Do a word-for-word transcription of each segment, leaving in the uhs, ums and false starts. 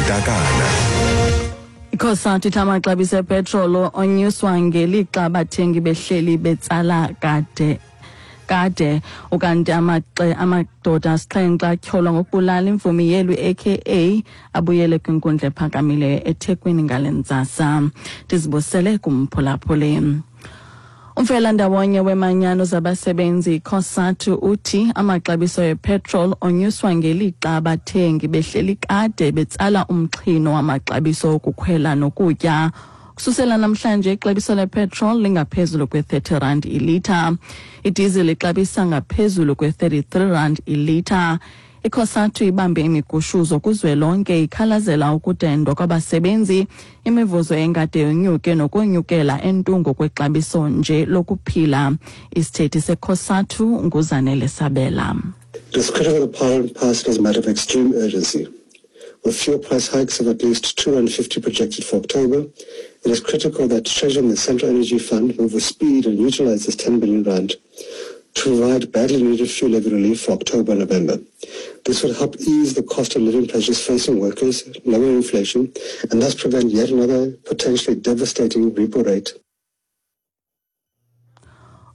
Ntakana. ICOSATU ithi amaxabiso epetrolo onyuswa ngelixa abathengi behleli betsala kade kade ukanti amaxe amadoda asixhenxe atyholwa ngokubulala imvumi yelu A K A abuyele kwinkundla ephakamileyo eThekwini ngale ntsasa. Ndizibusele kumphulaphuli. Umfelandawonye wemanyano zabasebenzi COSATU uthi amaxabiso epetrol onyuswa ngelixa abathengi behleli kade betsala umxhino wamaxabiso okukhwela nokutya. Kususela namhlanje ixabiso lepetrol lingaphezulu kwe-thirty rand ilitha. Idiesel ixabisa ngaphezulu kwe-thirty-three rand ilitha. ICOSATU ibambe imigushuzo kuzwelonke ikhalazela ukudendwa kwabasebenzi, imivuzo engade yonyuke nokonyukela entungo kwexabiso nje lokuphila. Isithethi seCOSATU nguZanele Sabela. It is critical that Parliament pass it as a matter of extreme urgency. With fuel price hikes of at least two hundred fifty projected for October, it is critical that Treasury and the Central Energy Fund move with speed and utilize this ten billion rand to provide badly needed fuel levy relief for October and November. This would help ease the cost of living pressures facing workers, lower inflation, and thus prevent yet another potentially devastating repo rate.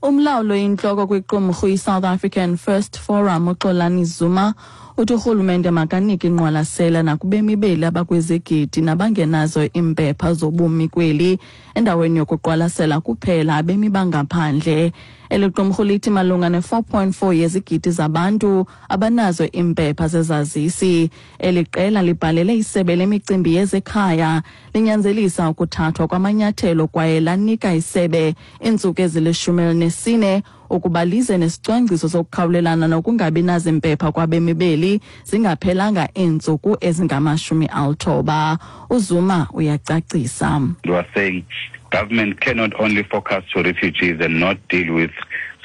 Umlawulo inhloko kwiqumrhu iSouth African First Forum uXolani Zuma uthi urhulumente makanike ingqwalasela nakubemi beli abakwizigidi nabangenazo iimpepha zobumi kweli endaweni yokuqwalasela kuphela abemi bangaphandle. Eli qumrhu lithi malunga ne-four point four yezigidi zabantu abanazo iimpepha zezazisi. Eli qela libhalele isebe lemicimbi yezekhaya linyanzelisa ukuthathwa kwamanyathelo kwaye lanika isebe iintsuku ezilishumi elinesine ukuba lize nesicwangciso sokukhawulelana nokungabi nazimpepha kwabemi beli zingaphelanga iintsuku ezingamashumi alithoba. UZuma uyacacisa. You are saying government cannot only focus to refugees and not deal with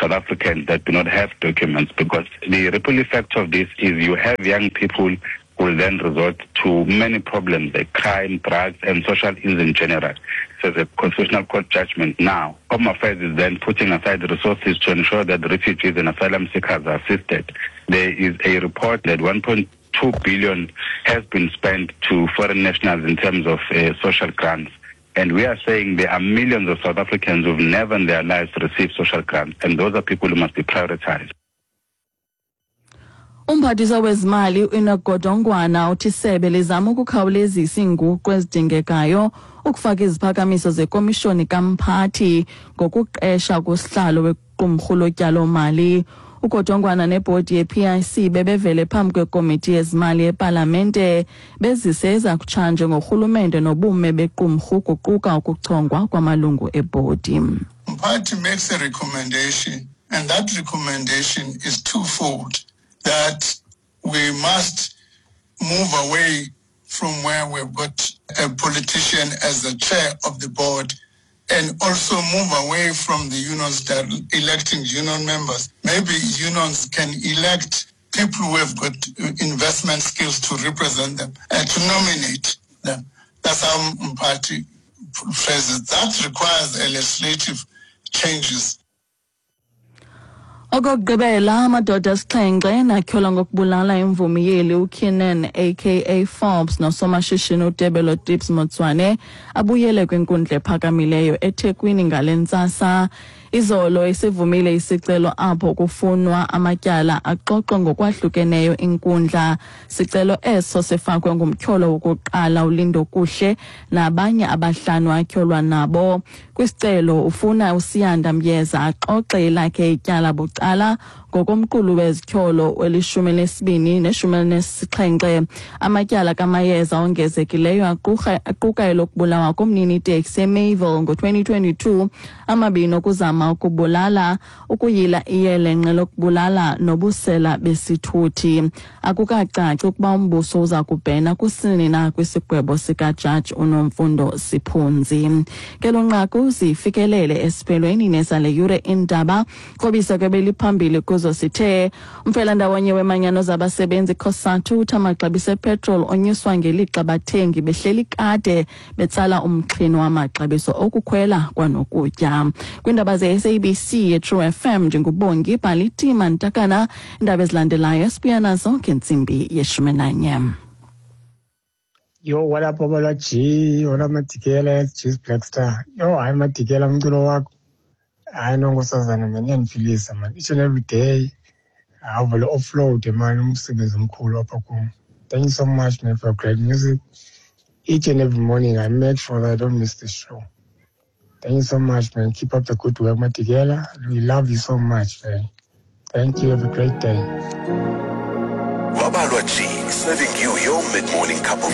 South Africans that do not have documents, because the ripple effect of this is you have young people who will then resort to many problems like crime, drugs, and social ills in general. So the Constitutional Court judgment now, Home Affairs is then putting aside resources to ensure that refugees and asylum seekers are assisted. There is a report that one point two billion has been spent to foreign nationals in terms of, uh, social grants. And we are saying there are millions of South Africans who've never in their lives received social grants, and those are people who must be prioritized. Umphathiswa wezimali uEnoch Godongwana uthi isebe lizama ukukhawulezisa iinguqu ezidingekayo ukufaka iziphakamiso zekomishoni kamphathi ngokuqesha kusihlalo wequmrhu lotyalomali. UGodongwana nebhodi ye-P I C bebevele phambi kwekomiti yezimali epalamente bezise ezakutshanje ngorhulumente nobume bequmrhu kuquka ukuchongwa kwamalungu ebhodi. Mphathi makes a recommendation, and that recommendation is twofold: that we must move away from where we've got a politician as the chair of the board, and also move away from the unions that are electing union members. Maybe unions can elect people who have got investment skills to represent them and to nominate them. That's how Mphathi phrases it. That requires a legislative changes. Okokugqibela, amadoda asixhenxe natyholwa ngokubulala imvumi yeli uKiernan A K A Forbes nosomashishini uTebello Tips Motsoane abuyele kwinkundla ephakamileyo eThekwini ngale ntsasa. Izolo isivumile isicelo apho kufunwa amatyala axoxwe ngokwahlukeneyo inkundla. Sicelo eso sifakwe ngumtyholo wokuqala uLindokuhle nabanye abahlanu atyholwa nabo. Kwisicelo ufuna uSiyanda Myeza axoxe elakhe ityala bucala ngokomqulu wezityholo welishumi elinesibini neshumi elinesixhenxe. Amatyala kaMayeza ongezekileyo aquka, aquka elokubulawa komnini iteksi eMayville ngo-twenty twenty-two, amabini okuzama ukubulala, ukuyila iyelenqe lokubulala nobusela besithuthi. Akukacaci ukuba umbuso uza kubhena kusini na kwisigwebo sikajaji uNomfundo Siphunzi. Ke lo nqaku zifikelele esiphelweni nezale yure indaba. Krobisa ke beliphambili kuzo sithe umfelandawonye wemanyano zabasebenzi COSATU uthi amaxabiso epetrol onyuswa ngelixa bathengi behleli kade betsala umxhino wamaxabiso okukhwela kwanokutya. Kwiindaba ze-S A B C ye-True F M ndinguBongi Bhalitima Ntakana. Iindaba ezilandelayo sibuya nazo ngentsimbi yeshumi nanye. Yo, what up, Babalwa G? What up, Madigela? G's Black Star. Yo, hayi Madigela, umculo wakho. Hayi no nkosazana man, iyandiphilisa man. Each and every day, awuvele offload man, umsebenzi omkhulu apha kum. Thank you so much, man, for great music. Each and every morning, I make sure that I don't miss the show. Thank you so much, man. Keep up the good work, Madigela. We love you so much, man. Thank you. Have a great day. Babalwa G, serving you your mid-morning cup of